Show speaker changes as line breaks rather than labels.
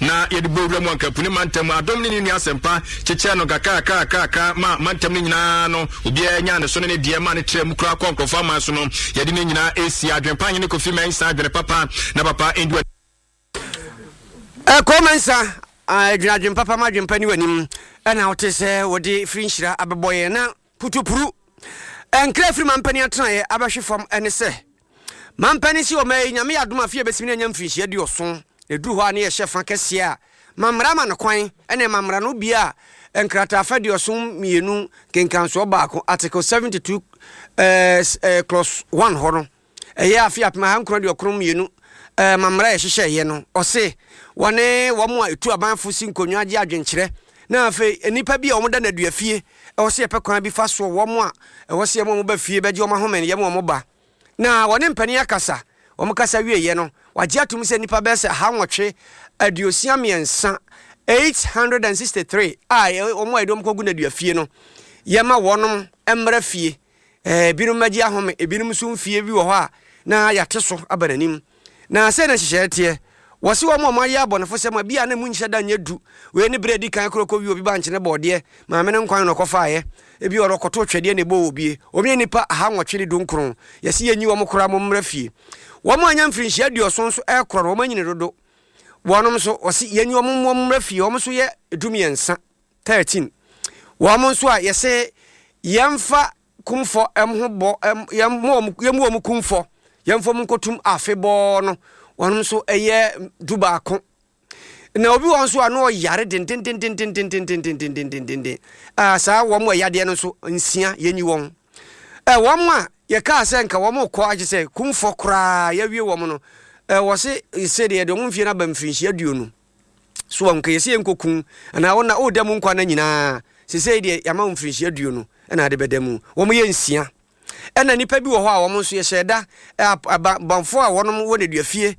Na yɛde bɔ wura mu anka Pune mantam Adom ne ne nua Asɛmpa kyekyɛɛ no nkakrakrakrakra ma mantam no nyinaa no obiara nyaa ne so ne ne deɛ ma ne trɛ mu koraa kɔ nkurɔfoɔ aman so no. Yɛde ne nyinaa ɛsi adwene pa hene Kofi Mensah adwene papa na papa ndi w'anim.
Ɛkɔ Mensah adwene adwene papa ma adwene pa ni w'anim ɛna wote sɛ wɔde firi nhyira abɛbɔ yɛn na putupuru nkra firi mampanin atenaeɛ abɛhwe fam ɛne sɛ Mampanin si ɔma yi, Nyame yɛ adom a afe a ɛbɛsim no anya mfirinhyia aduɔson. Ɛduru hɔ a ne yɛhyɛ fa kɛseɛ a, ma mmara ma no kwan, ɛne ma mmara no bia nkrataafa 82 nkenkansoɔ baako, Article 72 eh, clause 1 hɔ no, ɛyɛ afe 1992 eh, ma mmara a yɛhyehyɛeɛ no, ɔse wɔne wɔn a ɛtu abanfo si nkonnwa gye adwenkyerɛ, na afei nnipa bi a wɔda nnaduafie, ɛwɔ sɛ yɛpɛ kwan bi fa soɔ, wɔn a ɛwɔ sɛ yɛma wɔn ba fie bɛgye wɔn ahome no, yɛma wɔn ba. Na wɔne mpanin akasa. Wɔkasa wieeɛ no, wɔagye atom sɛ nnipa bɛyɛ sɛ 863, 863, a wɔn a yɛde wɔn kɔgu nnaduafie no, yɛma wɔnom mmra fie. Ebinom mmɛgye ahome, ebinom nso mfie bi wɔ hɔ a na yɛate so aba n'anim. Na sɛi na nhyehyɛeɛ teɛ, Wɔse wɔn a wɔayɛ abɔnefosɛm a bi a na emu nhyɛ da nyɛ du, wei ne berɛ a ɛdi kan korɔ kɔwie obi bankye ne bɔɔdeɛ, maame no nkwan na ɔkɔfaeɛ, ebi ɔno ɔkɔtoo twɛdeɛ na ɛbɔɔ obie, wɔn yɛ nnipa 819, yɛse yɛnyi wɔn koraa mommra fie. Wɔn a anya mfirinhyia 70 nso rekorɔ no wɔn anyini dodo, wɔnom nso wɔse yɛnyi wɔn mmra fie, wɔn nso yɛ 13, 13, wɔn nso a yɛse yɛmfa kumfɔ ho bɔ yɛmmɔ wɔn yɛmmu wɔn kumfɔ yɛmfa wɔn nkɔtum afebɔɔ no wɔn nso ɛyɛ 11. Na obi wɔn nso a na ɔyare dendendendendendendendendendendenden a saa wɔn a yadeɛ no nso nsia yɛnyi wɔn ɛ wɔn a yɛkaa sɛ nka wɔn kɔ agye sɛ kumfɔ koraa yɛawie wɔn no ɛ wɔse sɛ deɛ yɛde wɔn mfie no aba mfirinhyia 20 So wɔn nka yɛsɛ yɛnkɔku anaa wɔn na ɔreda mu nkwa no nyinaa sesei deɛ yɛama wɔn mfirinhyia 20 ɛna ade bɛda mu. Wɔn yɛ nsia. Ɛna nnipa bi wɔ hɔ a wɔn nso yɛhyɛ da abanfoɔ a wɔn wɔ nneduafie.